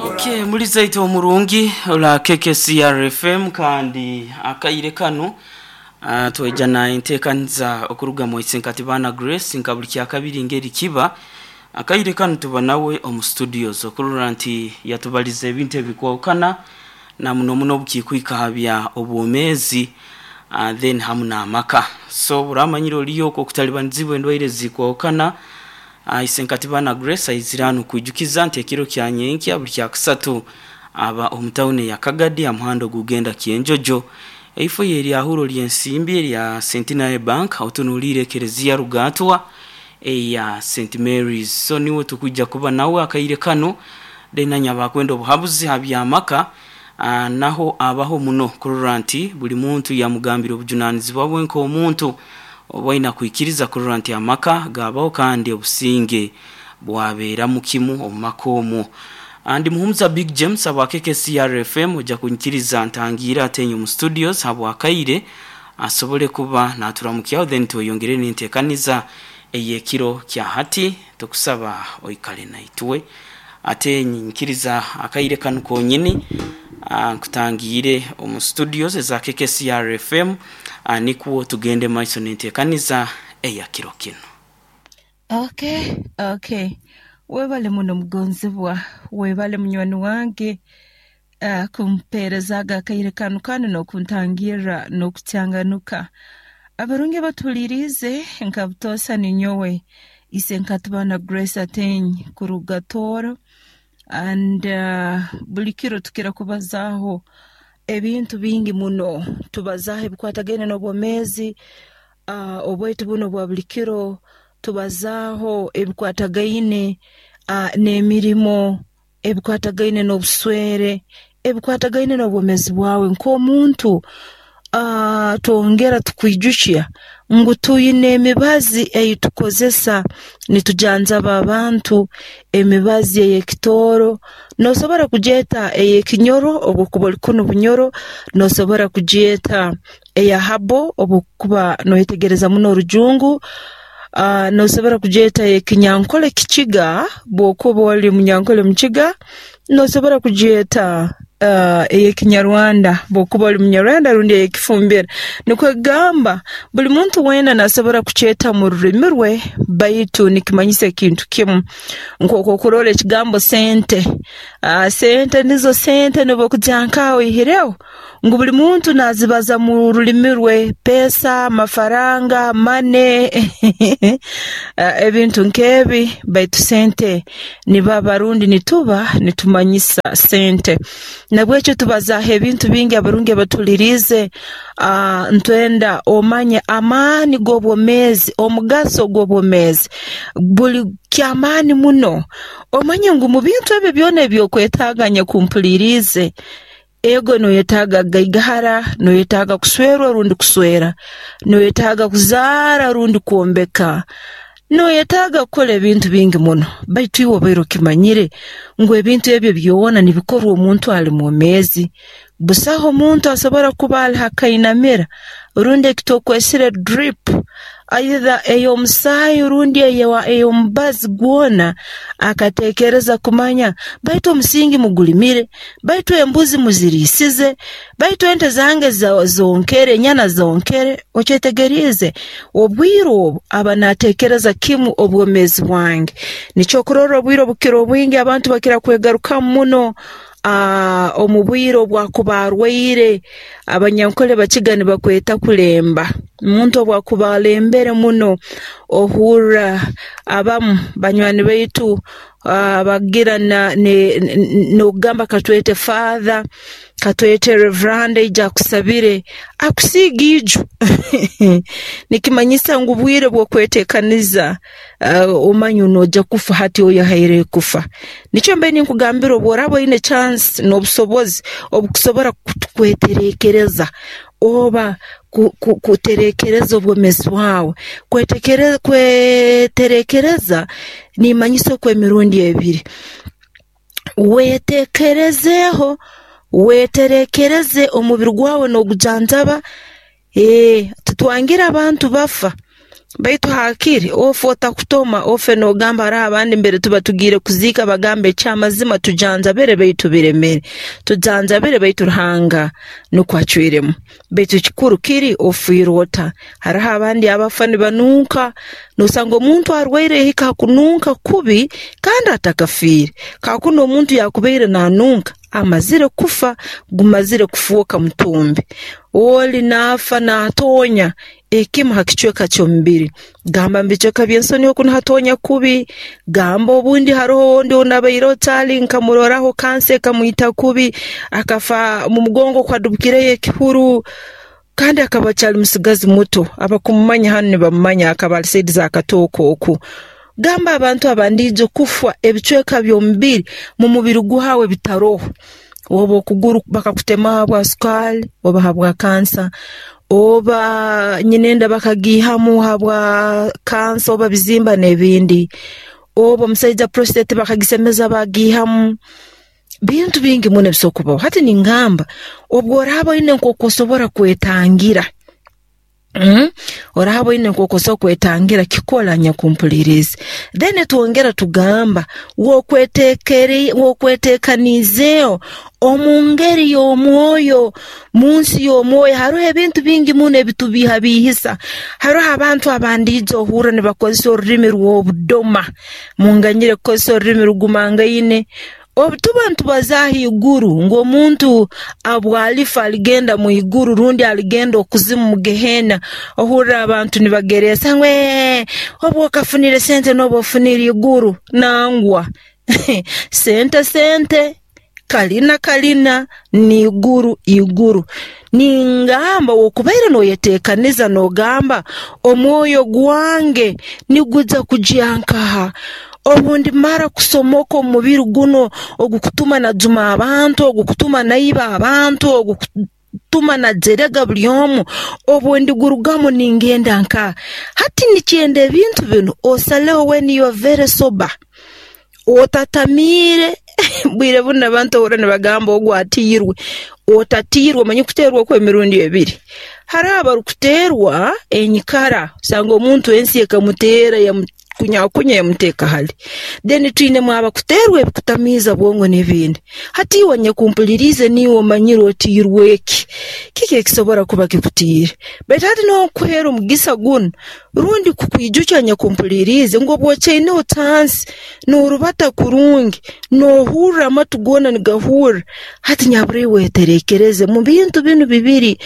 Okay, muri zaito omurungi ola KKCR FM kandi akaire kanu tweja na enteekaniza okuruga mu Isenkati Baana Grace nka buli kyakabiri ngeri kiba akaire kanu tuba nawe omu studios okurora nti yatubaliza ebintu ebikwahukana na muno muno obukikwika ha bya obwomeezi then hamu n'amaka. So buramanyire oliyo okwo okutalibanizibwa endwaire ezikwahukana, Isenkati Baana Grace aizire hanu kwijukiza nti ekiro kya nyenkya buli kyakusatu aba omu tawuni eya Kagadi ha muhanda ogugenda Kyenjojo. Eifo ye eryahuro ly'ensimbi erya Centenary Bank otunuliire ekereziya Rugaatwa eya St Mary's. So niwe tukwija kuba nawe akaire kanu then nanye abakwenda obuhabuzi ha by'amaka naho abaho muno kurora nti buli muntu yamugambira obujunanizibwa bwe nk'omuntu obu aina kwikiriza kurora nti amaka gabaho kandi obusinge bwabeeramu kimu omu maka omwo. Ndi Muhumuza Big James habwa KKCR FM oja kunyikiriza ntangiire ate omu studios habwakaire asobole kuba naturamukyaho then tweyongere n'enteekaniza ey'ekiro kya hati. Tukusaba oikale naitwe ate nyikiriza akaire kanu konyini nkutangiire omu studios eza KKCR FM nikwo tugende maiso n'enteekaniza eya kiro kinu. Okay, okay. Webale muno mugonzibwa, webale munywani wange kumpeereza aga akaire kanu kandi n'okuntangirra n'okukyanganuka. Abarungi abatuhuliriize nka butoosa ninyowe Isenkatibana Grace Ateny kuruga Tooro and buli kiro tukira kubazaaho ebintu bingi muno. Tubazaaho ebikwatagaine n'obwomeezi obwaitu bunu obwa buli kiro, tubazaaho ebikwatagaine n'emirimo, ebikwatagaine n'obuswere, ebikwatagaine n'obwomeezi bwawe nk'omuntu. Twongera tukwijukya ngu twine emibazi ei tukozesa nitujanjaba abantu, emibazi ey'ekitooro, n'osobora kugyeta ey'ekinyoro obu okuba oli kunu Bunyoro, n'osobora kugyeta eya habo obu okuba noyetegereza muno orujungu, n'osobora kugyeta ey'ekinyankole kikiga bw'okuba oli munyankole mukiga, n'osobora kugyeta ey'ekinyarwanda bw'okuba oli munyarwanda rundi ey'ekifumbira. Nikwo kugamba buli muntu weena n'asobora kukyeta mu rulimi rwe baitu nikimanyisa ekintu kimu. Nk'oku okurora ekigambo sente, sente nizo sente n'obu okugya nk'aha oihireho ngu buli muntu nazibaza mu rulimi rwe, pesa, mafaranga, money ebintu nk'ebi baitu sente nibaba rundi nituba nitumanyisa sente. Nabwekyo tubazaaho ebintu bingi abarungi abatuhuliriize, ntwenda omanye amaani g'obwomeezi, omugaso gw'obwomeezi buli ky'amaani muno. Omanye ngu mu bintu ebyo byona eby'okwetaaga nyakumpuliriize, ego noyetaaga kugaigahara, noyetaaga kuswerwa rundi kuswera, noyetaaga kuzaara rundi kwombeka, noyetaaga kukora ebintu bingi muno. Baitu iwe obaire okimanyire ngu ebintu ebyo byona nibikorwa omuntu ali mwomeezi. Busaho omuntu asobora kuba ali ha kainamira rundi ekitwokwesire drip either ey'omusaayi rundi ey'omubazi gwona akateekereza kumanya baitu omusingi mugulimire, baitu embuzi muziriisize, baitu ente zange zonkere, enyana zonkere. Okyetegeriize? Obwire obu aba naateekereza kimu obwomeezi bwange. Nikyo okurorra obwire obukira obwingi abantu bakira kwegarukamu muno omu bwire obu akuba arwaire. Abanyankole bakiga nibakweta kulemba. Omuntu obu akuba alembere muno ohurra abamu banywani baitu bagira n'okugamba katwete father, katwete reverand aije akusabire, akusiige iju. Nikimanyisa ngu bwire bw'okweteekaniza omanye noija kufa hati oyehaireyo kufa. Nikyo mbaire ninkugambira obu oraaba oine chance n'obusobozi obukusobora kweterekereza oba kuterekereza obwomeezi bwawe. Kweterekereza nimanyisa okw'emirundi ebiri. Wetekerezeeho, weterekereze omubiri gwawe n'ogujanjaba, titwangira abantu bafa. Baitu hakiri ofe otakutoma, ofe nogamba hariho abandi mbere tuba tugiire kuziika bagamba ekyamazima tujanjabire baitu biremere, tujanjabire baitu Ruhanga nukwo acwiremu. Baitu ekikuru kiri ofiire ota? Hariho abandi abafa nibanunka, nosanga omuntu arwaire yahika ha kununka kubi kandi atakafiire. Kakunu omuntu yakubaire nanunka amazire kufa, gumazire kufooka mutumbi. Oli nafa natonya ekimu ha kicweka ky'omubiri, gamba mu bicweka by'ensoni oku nihatonya kubi, gamba obundi haroho ondi ou nabaireho caali nkamuroraho kansa ekamwita kubi, akafa mu mugongo kwadubukireyo ekihuru, kandi akaba akyali musigazi muto, abakumumanya hanu nibamumanya akaba ali saidi za Katooke oku. Gamba abantu abandiijo kufa ebicweka by'omubiri mu mubiri gwawe bitaroho, oba okuguru bakakutemaho habwa sukaali oba habwa kansa, oba nyinenda bakagiihamu habwa kansa oba bizimba n'ebindi, oba omusaija prostate bakagisemeza bagiihamu. Bintu bingi muno ebisobora kubaho. Hati ningamba obu oraaba oine nk'oku osobora kwetangira, oraaba oine nk'oku osobola kwetangira, kikole anyakumpuliriize. Then twongera tugamba wokwetekaniizeeho omu ngeri y'omwoyo, mu nsi y'omwoyo haroho ebintu bingi muno ebitubiihabiihisa. Haroho abantu abandiija ohurra nibakozesa orulimi rw'obudoma, munganyire kukozesa orulimi rugumangaine. Obu tuba nitubazaaho iguru ngu omuntu abwalifa aligenda mu iguru rundi aligenda okuzimu mu gehena, ohurra abantu nibagereesa ngu obu okafunire sente noba ofunire iguru. Nangwa sente sente, kalina kalina, n'iguru iguru. Ningamba wokubaire noyetekaniza nogamba omwoyo gwange niguja kugya nkaha? Obu ndimara kusomoka omu mubiri guno ogukutuma najuma abantu, ogukutuma naiba abantu, ogukutuma najerega buli omu, obu ndigurugamu ningenda nkaha? Hati nikyenda ebintu binu osaleho when you are very sober, otatamiire. Bwire bunu abantu ohurra nibagamba ogu atiirwe, otatiirwe omanye kuteerwa okw'emirundi ebiri. Haroho abarukuteerwa enyikara, osanga omuntu ensi ekamuteera yamukunyakunya yamuteeka hali. Then twinemu abakuteerwa ebikutamiiza bwongo n'ebindi. Hati iwe anyakumpuliriize niiwe omanyire otiirwe ki? Kiki ekisobora kuba kikutiire? Baitu hati nonkuheera omugisa gunu rundi kukwijukya anyakumpuliriize ngu obu okyaineho chansi noorubata kurungi, noohurra amatu goona nigahurra, hati nyabura iwe weterekereze mu bintu binu bibiri,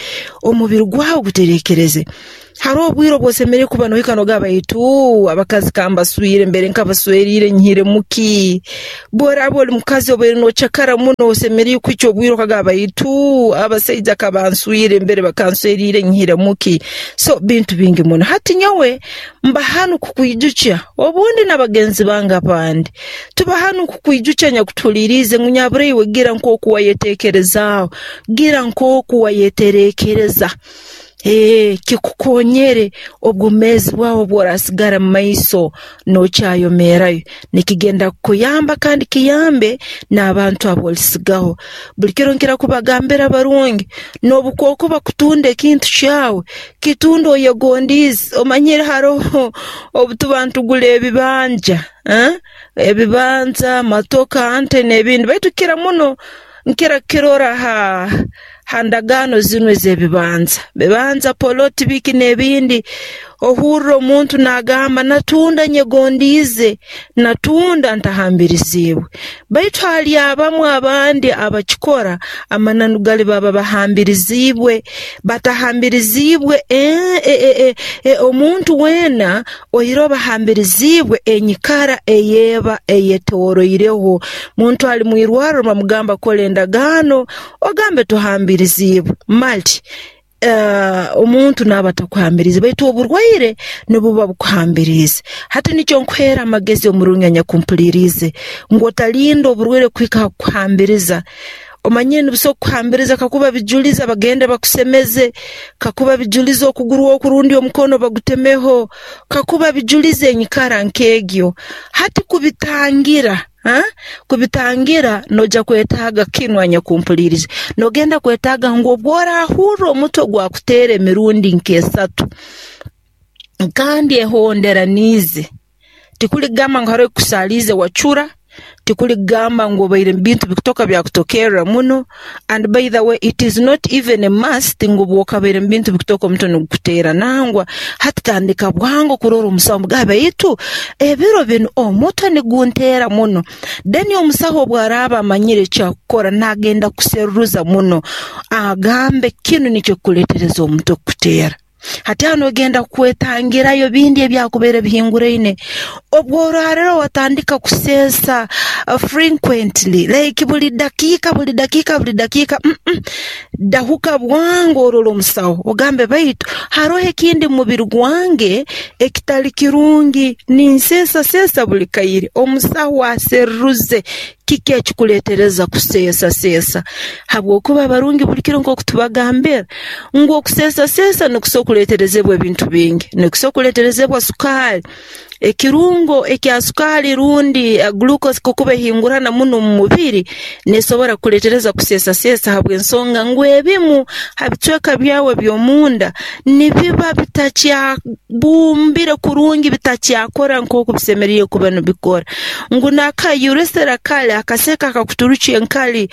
omubiri gwawe guterekereze. Haroho obwire obu osemeriire kuba nohika nogamba baitu abakazi kambaswire mbere nkabasweriire nyihiremu ki? Bworaaba oli mukazi obaire nocakara muno osemeriire kuhikya obwire okagamba baitu abasaija kabanswire mbere bakansweriire nyihiremu ki? So bintu bingi muno. Hati nyowe mba hanu kukwijukya obundi na bagenzi bange abandi, tuba hanu kukwijukya nyakutuhuliriize ngu nyabura iwe gira nk'oku wayetekerezaaho, gira nk'oku wayeterekereza. Kikukonyere obwomeezi bwawe obw'orasigara mu maiso n'okyayomeerayo. Nikigenda kukuyamba kandi kiyambe n'abantu ab'olisigaho. Buli kiro nkira kubagambira abarungi, n'obukwokuba kutunda ekintu kyawe, kitunde oyegondiize. Omanyire haroho obu tuba nitugura ebibanja, ebibanja, matoka, nte n'ebindi, baitu kukira muno nkira kukirora ha ndagaano zinu ez'ebibanja, bibanza, poloti, biki n'ebindi, ohurra omuntu n'agamba natunda nyegondiize, natunda ntahambiriziibwe. Baitu hali abamu abandi abakikora, amananu gali baba bahambiriziibwe, batahambiriziibwe omuntu weena oihireho bahambiriziibwe enyikara ey'eba eyetoroireho. Muntu ali mwirwarro bamugamba kora endagaano, ogambe tohambiriziibwe. Mali omuntu naaba atakuhambiriize baitu oburwaire nibuba bukuhambiriize. Hati nikyo nkuheera amagezi omurungi anyakumpuliriize ngu otalinda oburwaire kuhika ha kukuhambiriza. Omanyire nibusobora kukuhambiriza kakuba bijuliza bagende bakusemeze, kakuba bijuliza okuguru oku rundi omukono bagutemeho, kakuba bijuliza enyikara nk'egyo. Hati kubitangira, kubitangira noija kwetaaga kinu anyakumpuliriize. Nogenda kwetaaga ngu obu orahurra omutwe gwakuteera emirundi nk'esatu, Kandi ehonderaniize. Tikuli kugamba ngu haroho ekikusaaliize wacura, tikuli kugamba ngu obaire mu bintu bikutoka byakutokerra muno, and by the way it is not even a must ngu obu okabaire mu bintu bikutoka omutwe nigukuteera. Nangwa hati tandika bwangu kurora omusaho omugambe baitu ebiro binu omutwe nigunteera muno. Then omusaho obu araaba amanyire ekyakukora nagenda kuseruruza muno agambe kinu nikyo kikuleetereza omutwe kukuteera. Hati aho nogenda kwetangirayo bindi ebyakubaire bihinguraine. Obworarora watandika kuseesa frequently like buli dakiika buli dakiika buli dakiika, dahuka bwangu orole omusaho ogambe baitu haroho ekindi mu mubiri gwange ekitali kirungi, ninseesaseesa buli kaire. Omusaho aseruruze kiki ekikuleetereza kuseesaseesa, habwokuba abarungi buli kiro nk'oku tubagambira ngu okuseesaseesa nikusobora kuleeterezebwa ebintu bingi. Nikusobora kuleeterezebwa sukaali, ekirungo ekya sukaali rundi glucose kakuba ehingurana muno omu mubiri, neesobora kukuleetereza kuseesaseesa habw'ensonga ngu ebimu ha bicweka byawe eby'omunda nibiba bitakyabumbire kurungi, bitakyakora nk'oku bisemeriire kuba nibikora. Ngu n'aka urethra kali akaseke akakuturukya enkali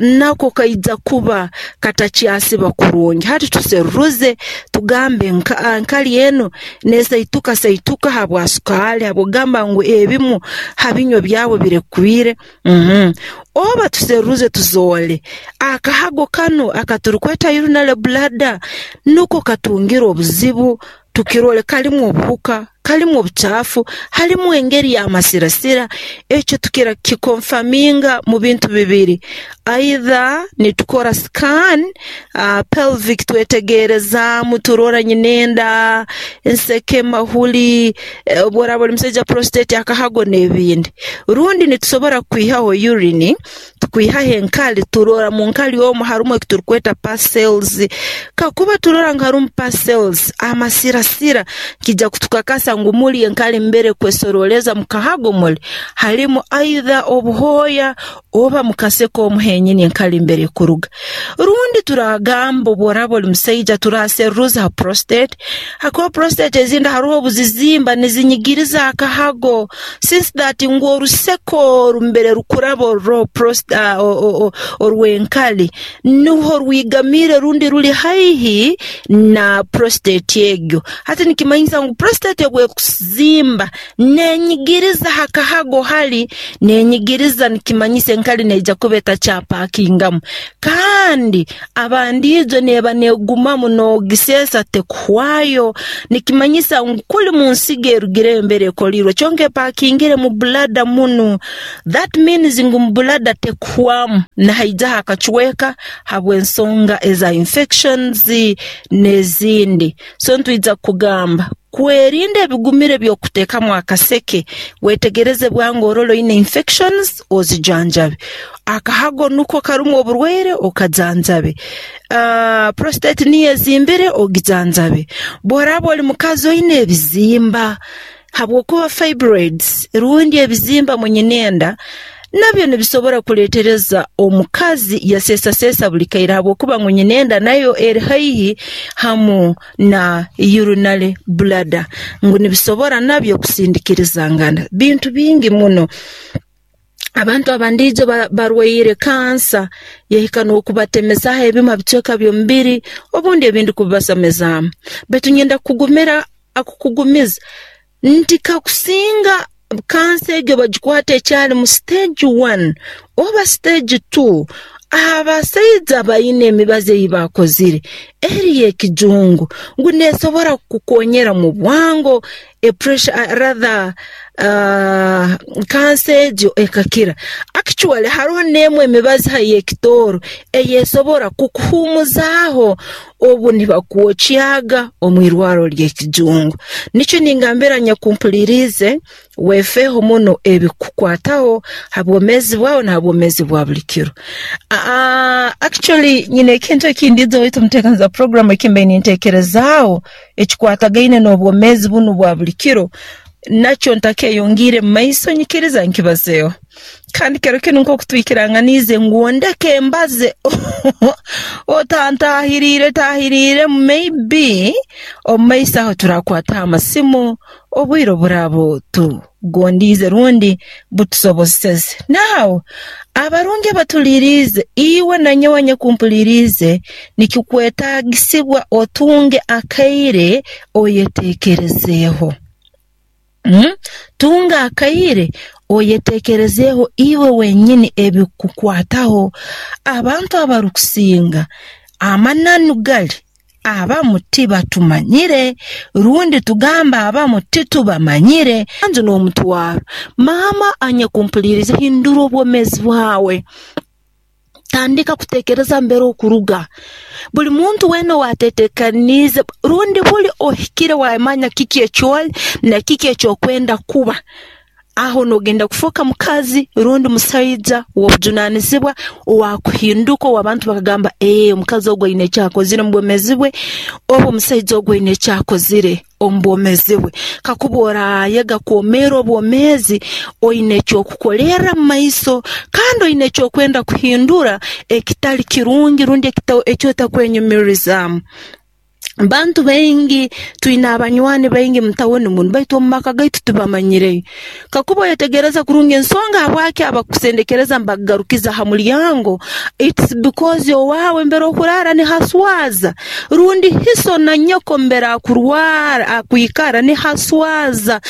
nako kaija kuba katakyasiba kurungi. Hati tuseruruze tugambe enkali enu neesaituka saituka habwa sukaali, habw'okugamba ngu ebimu ha binywa byawe birekwire. Oba tuseruruze tuzoole akahago kanu akaturukweta urinary bladder nuko katungire obuzibu, tukirole kalimu obuhuka, kalimu obucaafu, halimu engeri y'amasirasira. Ekyo tukira kukikonfaminga mu bintu bibiri, either nitukora scan pelvic twetegerezaamu turora nyinenda, enseke, mahuli, obu oraaba oli musaija prostate, akahago n'ebindi. Rundi nitusobora kwihaho urine, tukwihaho enkali, turora mu nkali omu harumu ekiturukweta pus cells. Kakuba turora ngu harumu pus cells, amasirasira, kija kutukakasa ngu muli enkali mbere kwesoroleza mu kahago muli halimu either obuhooya oba mu kaseke omu henyini enkali mbere ekuruga. Rundi turagamba obu oraaba oli musaija turaseruruza ha prostate, hakuba prostate ezindi haroho obuzizimba nizinyigiriza akahago, since that ngu oruseke oru mbere rukuraba oruroho orw'enkali nuho rwigamiire rundi ruli haihi na prostate egyo. Hati nikimanyisa ngu prostate obu ekuzimba nenyigiriza ha kahago hali, nenyigiriza nikimanyisa enkali neija kuba etakyapakingamu. Kandi abandiijo neeba neegumamu noogiseesa tekuhwayo, nikimanyisa ngu kuli mu nsigo erugireyo mbere ekoliirwe kyonka epakingire mu bladder munu. That means ngu mu bladder tekuhwamu, nihaijaho akacweka habw'ensonga eza infections n'ezindi. So nitwija kugamba kwerinda ebigumire by'okuteekamu akaseke, wetegereze bwangu orole oine infections ozijanjabe. Akahago nuko karumu oburwaire okajanjabe. Prostate niyo ezimbire ogijanjabe. Bw'oraaba oli mukazi oine ebizimba, habwokuba fibroids rundi ebizimba mu nyinenda nabyo nibisobora kuleetereza omukazi yaseesaseesa buli kaire habwokuba ngu nyinenda nayo eri haihi hamu na urinary bladder, ngu nibisobora nabyo kusindikirizangana. Bintu bingi muno. Abantu abandiijo barwaire kansa yahika n'okubatemezaho ebimu ha bicweka by'omubiri obundi ebindi kubibasamizaamu. Baitu nyenda kukugumira kukugumiza nti kakusinga kansa egyo bagikwata ekyali mu stage 1 oba stage 2, abasaija baine emibazi ei baakozire eri y'ekijungu ngu neesobora kukukonyera mu bwango e pressure rather kansa egyo ekakira. Actually haroho n'emu emibazi ha y'ekitooro ey'esobora kukuhuumuzaaho obu nibakwokyaga omu irwarro ly'ekijungu. Nikyo ningambira nyakumpuliriize wefeeho muno ebikukwataho ha bwomeezi bwawe na ha bwomeezi bwa buli kiro. Actually nyine ekintu ekindiize waitu omuteekaniza program eki mbaire ninteekerezaaho ekikwatagaine n'obwomeezi bunu bwa buli kiro. Nakyo ntakeyongiire mu maiso, nyikiriza nkibazeeho. Kandi kiro kinu nk'oku twikiranganiize ngu ndeke mbaze, otantahiriire tahiriiremu, maybe omu maiso aho turakwataho amasimu obwire oburaaba tugondiize rundi butusoboseze. Now, abarungi abatuliiriize, iwe na nyowe anyakumpuliriize, nikikwetaagisibwa otunge akaire oyeteekerezeeho. Tunga akaire oyeteekerezeeho iwe wenyini ebikukwataho. Abantu abarukusinga amananu gali abamu tibatumanyire, rundi tugamba abamu titubamanyire. Nju n'omutwaro. Maama anyakumpuliriize, hindura obwomeezi bwawe. Tandika kuteekereza mbere okuruga. Buli muntu weena owaatetekaniize rundi buli ohikire wamanya kiki ekyoli na kiki ekyokwenda kuba, aho noogenda kufooka mukazi rundi musaija w'obujunaanizibwa owaakuhinduka ow'abantu bakagamba, ee, omukazi ogu aine eki akozire omu bwomeezi bwe, oba omusaija ogu aine eki akozire omu bwomeezi bwe. Kakuba oraayega kwomeera obwomeezi oine eky'okukolerra mu maiso kandi oine eky'okwenda kuhindura ekitali kirungi rundi eki otakwenyumirizaamu. Bantu baingi twine abanywani baingi mu tawuni munu, baitu omu maka gaitu tibamanyireyo. Kakuba oyetegereza kurungi ensonga habwaki abakusendekereza nibakugarukiza ha mulyango, it's because owaawe mbere okuraara nihaswaza, rundi hiso na nyoko mbere akurwara akwikara nihaswaza.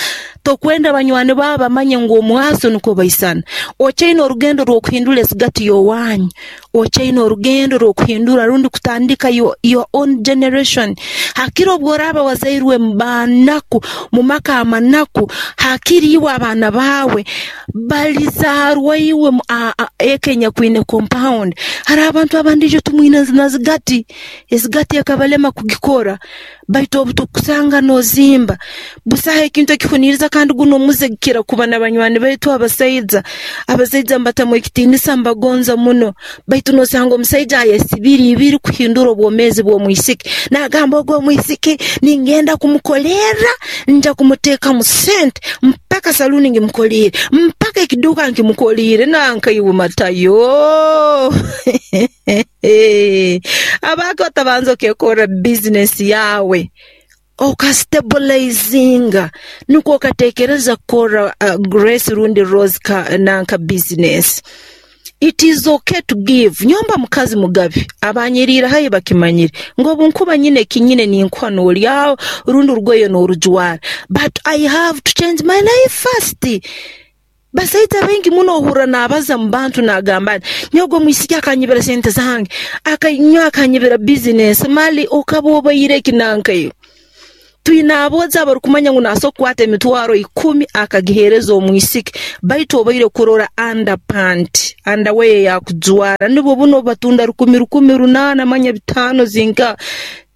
Tokwenda banywani baawe bamanye ngu omwaso nukwo baisana. Okyaine orugendo rw'okuhindura esigati y'owanyu, okyaine orugendo rw'okuhindura rundi kutandika your own generation. Hakiri obu oraaba wazairwe mu banaku, mu maka amanaku, hakiri iwe abaana baawe balizaarwa iwe eka enyakwine compound. Haroho abantu abandi ijo tumwine na zigati, ezigati ekabalema kugikora, baitu obu tukusanga noozimba, busaho ekintu ekihuniiriza kandi gunu omuze gukira kuba n'abanywani baitu abasaija. Abasaija mbatamu ekitiinisa mbagonza muno, baitu noosanga omusaija ayesibire ibiri kuhindura obwomeezi bw'omwisiki. Naagamba ogu omwisiki ningenda kumukolerra, nja kumuteekamu sente mpaka saluuni ngimukoliire, mpaka ekiduuka nkimukoliire, nanka iwe Matayo. Abaake otabanza okekorra bizinesi yaawe, okastabulayizinga nukwo okateekereza kukorra Grace rundi Rose nanka bizinesi. It is okay to give. Nyomba mukazi mugabi, abanyiriire haihi bakimanyire ngu obu nkuba nyine eki nyine ninkuha noolyaho rundi orugoye noorujwara, but I have to change my life first. Basaija baingi muno ohurra naabaza mu bantu naagamba ati, nyowe ogu omwisiki akanyibira sente zange, nyowe akanyibira bizinesi, mali okaba obaire ki nanka iwe? Twine aboojo abarukumanya ngu naasobora kukwata emitwaro ikumi akagiheereza omwisiki, baitu obaire kurora underpant, underwear ey'akujwara, nubwo bunu obu batunda rukumi rukumi runaana manya bitaano zinka.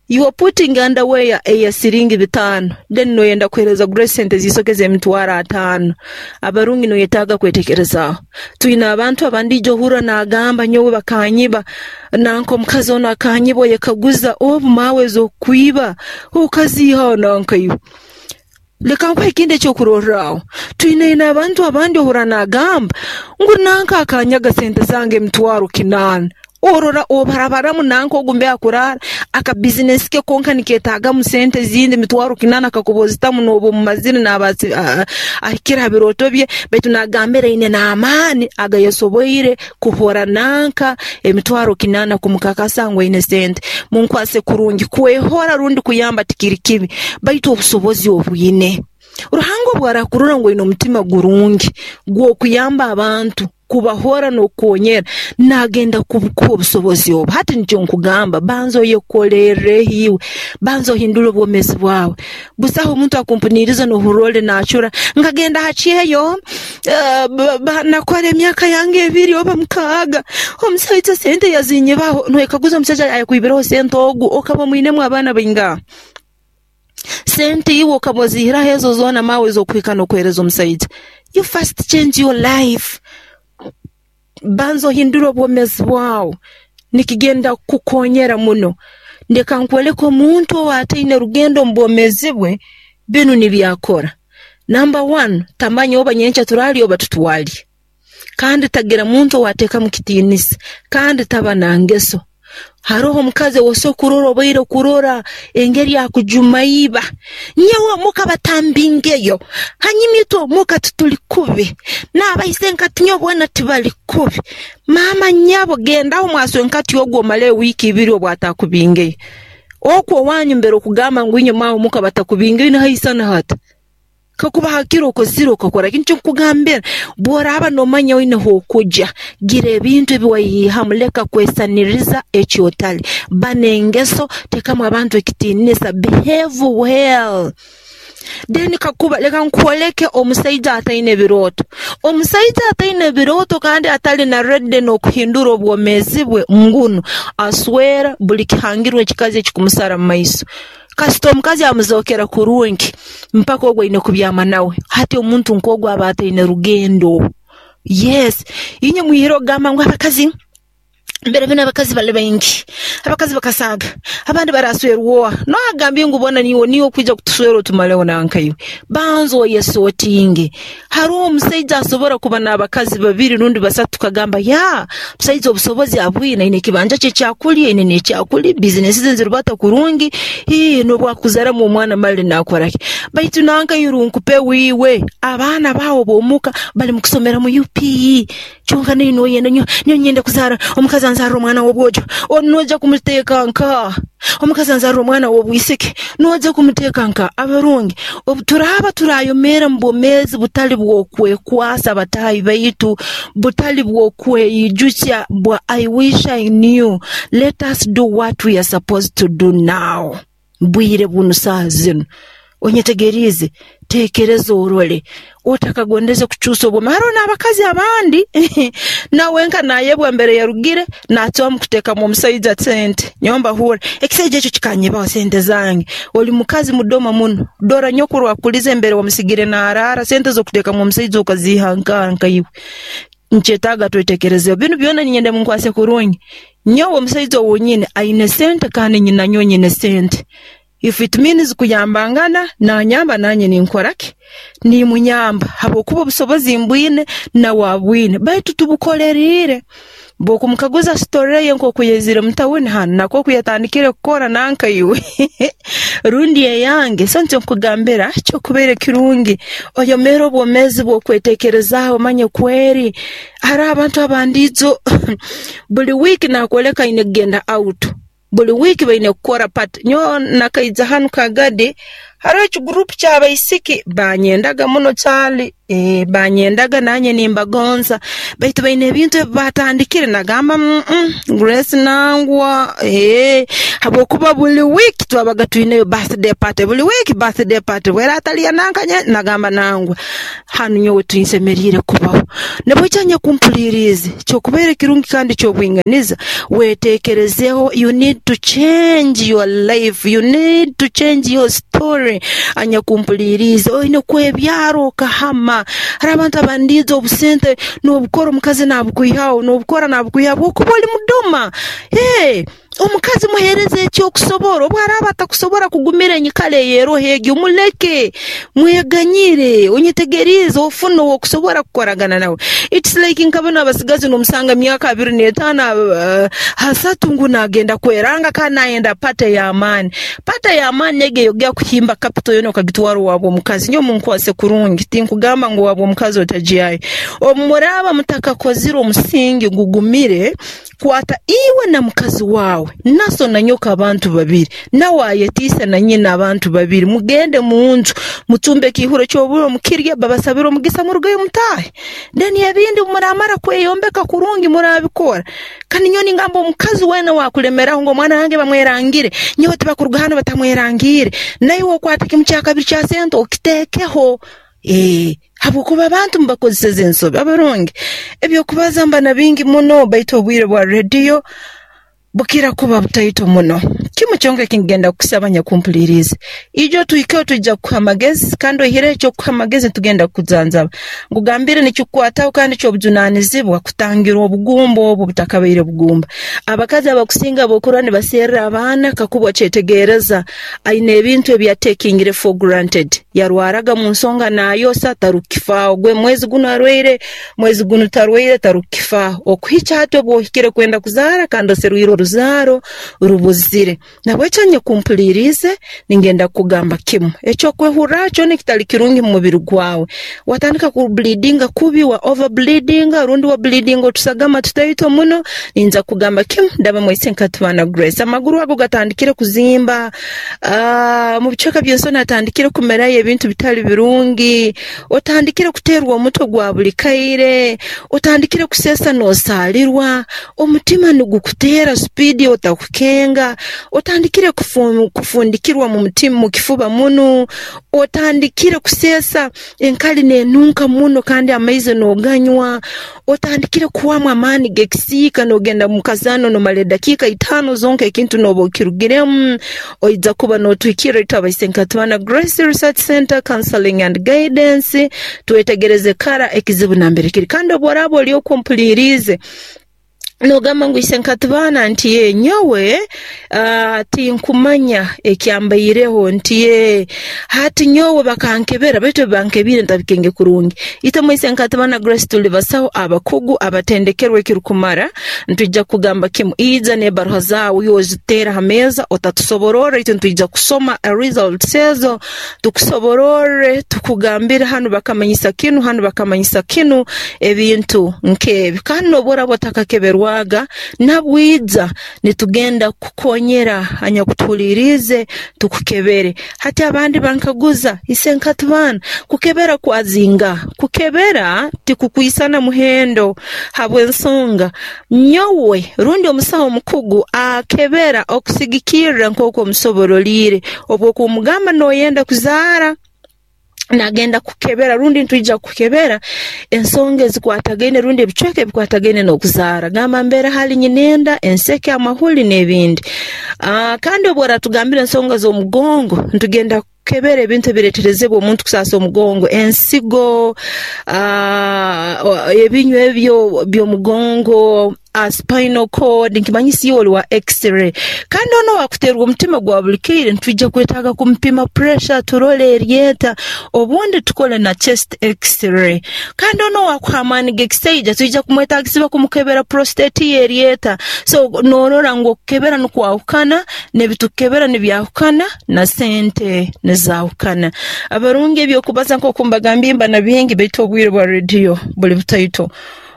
You are putting underwear eya siringi bitaano, then noyenda kuheereza Grace sente z'isoke z'emitwaro ataano. Abarungi noyetaaga kwetekerezaaho. Twine abantu abandi ijo ohurra naagamba nyowe bakanyiba, nanka omukazi onu akanyiba, oyekaguza obu maawe ez'okukwiba okaziihaho nanka iwe. Leka nkuhe ekindi ekyokurorraho. Twine abantu abandi ohurra naagamba ngu nanka akanyaga sente zange emitwaro kinaana. Orora obarabaramu nanka ogu mbe akuraara, akabizinesi ke konka nikeetaagamu sente ezindi mitwaro kinaana kakuba ozitamu nooba omumazire naaba ahikire ha birooto bye, baitu naagambira aine n'amaani agayasoboire kuhora nanka emitwaro kinaana kumukakasa ngu aine sente. Munkwase kurungi, kwehora rundi kuyamba tikiri kibi, baitu obusobozi obwine. Ruhanga obu arakurora ngu oine omutima gurungi gw'okuyamba abantu, kubahora n'okukonyera, naagenda kukuha obusobozi obu. Hati nikyo nkugamba, banza oyekolerreho iwe, banza ohindule obwomeezi bwawe. Busaho omuntu akumpuniiriza nohurra oli naacura, nkagenda ha kyeyo, nakora emyaka yange ebiri oba mukaaga, omusaija sente yazinyibaho. Noyekaguza omusaija ayakwibireho sente ogu okaba omwinemu abaana baingaha? Sente iwe okaba ozihiraho ezo zoona maawe ez'okuhika n'okuheereza omusaija. You first change your life. Banza ohindule obwomeezi bwawe, nikigenda kukukonyera muno. Leka nkwoleke omuntu ow'ataine rugendo omu bwomeezi bwe, binu nibyo akora. Number one, tamanya oba nyenkya turaalya oba tutwalya, kandi tagira muntu owaateekamu kitiinisa, kandi taba na ngeso. Haroho omukazi ow'osobora kurora obaire kurora engeri akujuma iba, nyowe omuka batambingeyo, hanyuma itwe omuka tituli kubi, n'abaisenkati nyowe boona tibali kubi. Maama nyabo gendaho mwaswenkati ogu omaleyo wiiki ibiri obu atakubingeyo. Okwo owanyu mbere okugamba ngu inywe maawe omuka batakubingeyo nihaisana hata? Kakuba hakiro okozire okakora ki? Nikyo nkukugambira, bw'oraaba noomanya oine h'okugya, gira ebintu ebi waihamu, leka kwesaniriza eki otali. Ba n'engeso, teekamu abantu ekitiinisa, behave well. Then kakuba leka nkwoleke omusaija ataine birooto. Omusaija ataine birooto kandi atali na ready n'okuhindura obwomeezi bwe ngunu aswera buli kihangirwe ekikazi ekikumusara mu maiso. Kasita omukazi amuzookera kurungi, mpaka ogu aine kubyama nawe. Hati omuntu nk'ogu aba ataine rugendo. Yes, inywe mwihire okugamba ngu abakazi mbere binu abakazi bali baingi, abakazi bakasaaga, abandi baraswerwa oha? Noha agambire ngu bona niiwe niiwe okwija kutuswera otumaleho nanka iwe? Banza oyesotinge. Haroho omusaija asobora kuba n'abakazi babiri rundi basatu tukagamba yaa, omusaija obusobozi abwine, aine ekibanja kye ekyakulya, aine n'ekyakulya, bizinesi ze nizirubata kurungi, ii n'obu akuzaramu omwana mali naakora ki? Baitu nanka iwe runkupe wiiwe, abaana baawe b'omuka bali mu kusomera mu UPE, kyonka naiwe noyenda nyowe nyenda kuzaara omukazi anzaarre omwana w'obwojo, onu noija kumuteeka nkaha? Omukazi anzaarre omwana w'obwisiki, noija kumuteeka nkaha? Abarungi, obu turaaba turayomeera mu bwomeezi butali bw'okwekwasa bataahi baitu, butali bw'okweyijukya bwa I wish I knew, let us do what we are supposed to do now. Bwire bunu saaha zinu. Onyetegeriize, teekereza orole, otakagondeze kucuusa obwomeezi. Haroho n'abakazi abandi nawe nka naayebwa mbere yarugire, naacwamu kuteekamu omusaija sente. Nyowe mbahurra, ekisaija ekyo kikanyibaho sente zange. Oli mukazi mudoma muno, dora nyokuru akulize mbere wamusigire naaraara, sente z'okuteekamu omusaija okaziiha nkaha nka iwe? Nkyetaaga twetekerezeho. Binu byona niinyenda munkwase kurungi. Nyowe omusaija ou nyine aine sente kandi nyina nyowe nyine sente. If it means kuyambangana, nanyamba nanye ninkora ki? Nimunyamba habwokuba obusobozi mbwine nawe abwine baitu tubukoleriire. Bw'okumukaguza story ye nk'oku yaizire mu tawuni hanu na nk'oku yatandikire kukora nanka iwe rundi eyange, so nikyo nkukugambira kyokubaire kirungi oyomeere obwomeezi bw'okweteekerezaaho omanye kweri haroho abantu abandi ijo buli wiiki naakwoleka aine kugenda out, buli wiiki baine kukora party. Nyowe nakaija hanu Kagadi, haroho ekiguruupu ky'abaisiki banyendaga muno caali, banyendaga nanye nimbagonza baitu baine ebintu ebi baatandikire nagamba Grace nangwa, habwokuba buli wiiki twabaga twineyo birthday party, buli wiiki birthday party, bwera atali ya nanka nagamba nangwa hanu nyowe tinsemeriire kubaho. Nabweki anyakumpuliriize, kyokubaire kirungi kandi ky'obwinganiza, weteekerezeeho you need to change your life, you need to change your story. Anyakumpuliriize, oine kwebyara okahama. Haroho abantu abandiijo obusente n'obukora omukazi naabukwihaho, n'obukora naabukwihaho habwokuba oli mudoma. Omukazi muheereze eki okusobora, obu araaba atakusobora kugumira enyikara ey'eroho egi omuleke, mweganyire, onyetegeriize ofune ow'okusobora kukoragana nawe. It's like nka banu abasigazi n'omusanga myaka 25, 30 ngu naagenda kweranga kandi naayenda party ey'amaani. Party ey'amaani egi ey'okugenda kuhimba capital yoona okagitwara owaabu omukazi. Nyowe munkwase kurungi, tinkugamba ngu owaabu omukazi otagyayo. Obu muraaba mutakakozire omusingi gugumire, kwata iwe na mukazi waawe, naso na nyoko abantu babiri, nawe ayetiise na nyina abantu babiri, mugende mu nju, mucumbe ekiihuro ky'oburo mukirye, babasabire omugisa murugeyo mutaahe. Then ebindi obu muraamara kweyombeka kurungi muraabikora. Kandi nyowe ningamba omukazi weena owaakulemeraho ngu omwana wange bamwerangire, nyowe tibakuruga hanu batamwerangiire, naiwe okwate kimu kya kabiri kya sente okiteekeho. Habwokuba abantu mubakozeseze ensobi. Abarungi, eby'okubaza mba na bingi muno baitu obwire bwa rediyo bukira kuba butaito muno. Kimu kyonka ekingenda kukusaba, nyakumpuliriize, ijo tuhikeho, twija kukuha amagezi, kandi oihireho ekyokukuha amagezi, nitugenda kukujanjaba. Nkugambire, nikikukwataho kandi ky'obujunanizibwa kutangira obugumba obu butakabaire bugumba. Abakazi abakusinga bokurora nibaserra abaana, kakuba okyetegereza, aine ebintu ebi yatekingire for granted. Yarwaraga mu nsonga nayosa, tarukukifaaho. Gwe mwezi gunu arwaire, mwezi gunu tarwaire, tarukukifaaho, okuhikya hati obu ohikire kwenda kuzaara kandi oserwire oruzaaro rubuzire. Nabwekyo, nyakumpuliriize, ningenda kukugamba kimu: ekyokwehurra kyona ekitali kirungi mu mubiri gwawe, watandika kubleedinga kubi, wa over bleedinga, rundi wa bleedinga otusagama tutaito muno, ninza kugamba kimu: ndaba mwaise Nkatibana Grace. Amaguru ago gatandikire kuzimba, mu bicweka by'ensoni atandikire kumerayo ebintu bitali birungi, otandikire kuteerwa omutwe gwa buli kaire, otandikire kuseesa n'osaalirwa, omutima nigukuteera speed otakukenga, otandikire kufundikirwa mu mutima, mu kifuba muno, otandikire kuseesa enkali n'enunka muno kandi amaizi n'oganywa, otandikire kuhwamu amaani g'ekisiika, n'ogenda mu kazaano nomara edakiika 5 zonka ekintu n'oba okirugiremu, oija kuba n'otuhikirra itwe abaise Nkatibana Grace Research Center Counseling and Guidance, twetegereze kara ekizibu nambere kiri. Kandi obu oraaba oli okumpuliriize nogamba ngu, "Ise Nkatibana," nti, "ye nyowe tinkumanya ekyambaireho," nti, "ye hati nyowe bakankebera, baitu ebi ntabikenge kurungi." Itwe mwaise Nkatibana Grace tuli basaho abakugu abatendekerwe ekirukumara. Ntwijja kugamba kimu: ija n'ebaruha zaawe, iwe oziteera ha meeza, otatusobororra, itwe ntwija kusoma results ezo, tukusobororre, tukugambire hanu bakamanyisa kinu, hanu bakamanyisa kinu, ebintu nk'ebi. Kandi n'obu oraba otakakeberwaga, nabwija nitugenda kukukonyera, anyakutuhuliriize, tukukebere. Hati abandi bankaguza, "Ise Nkatibana, kukebera kwazinga?" Kukebera tikukwisana muhendo, habw'ensonga nyowe rundi omusaho omukugu akebera okusigikirra nk'oku omusoboroliire. Obwokumugamba noyenda kuzaara, nagenda kukebera rundi ntwija kukebera ensonga ezikwatagaine rundi ebicweka ebikwatagaine n'okuzaara, gamba mbere hali nyinenda, enseke, amahuli n'ebindi. Kandi obu oratugambira ensonga z'omugongo, ntugenda kukebera ebintu ebireeterezebwa omuntu kusaasa omugongo, ensigo, ebinywa ebyo by'omugongo, spinal cord, nkimanyisa iwe oli wa x-ray. Kandi ono wakuteerwa omutima gwa buli kaire, nitwija kwetaaga kumupima pressure, turole eryeta, obundi tukole na chest x-ray. Kandi ono wakuha amaani g'ekisaija, twija kumwetagisibwa kumukebera prostate ye eryeta. So norora ngu okukebera nikwahukana, n'ebitukukebera nibyahukana, na sente nizaahukana. Abarungi, ebyokubaza nk'oku mbagambye mba na bingi, baitu obwire bwa rediyo buli butaito.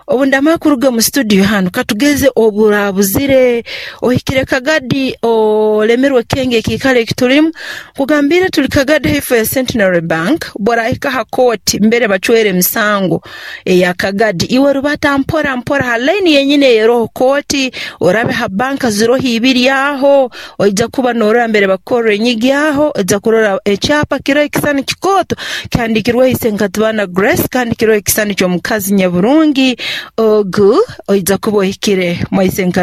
Obu ndamara kuruga mu studio hanu, katugeze oburabuzire ohikire Kagadi, olemerwe kenge ekiikaro ekitulimu, kugambire tuli Kagadi haifo ya Centenary Bank. Borahika ha kooti mbere bacwera emisango eya Kagadi, iwe rubata mpora mpora ha line yenyini eyeroho kooti, orabe ha banka ziroho ibiri aho, oija kuba norora mbere bakukorra enyigi aho, oija kurora ekyapa kiroho ekisani kikooto kihandikirweho Ise Nkatibana Grace, kandi kiroho ekisani ky'omukazi nyaburungi ogu, oija kuba ohikire mwaise.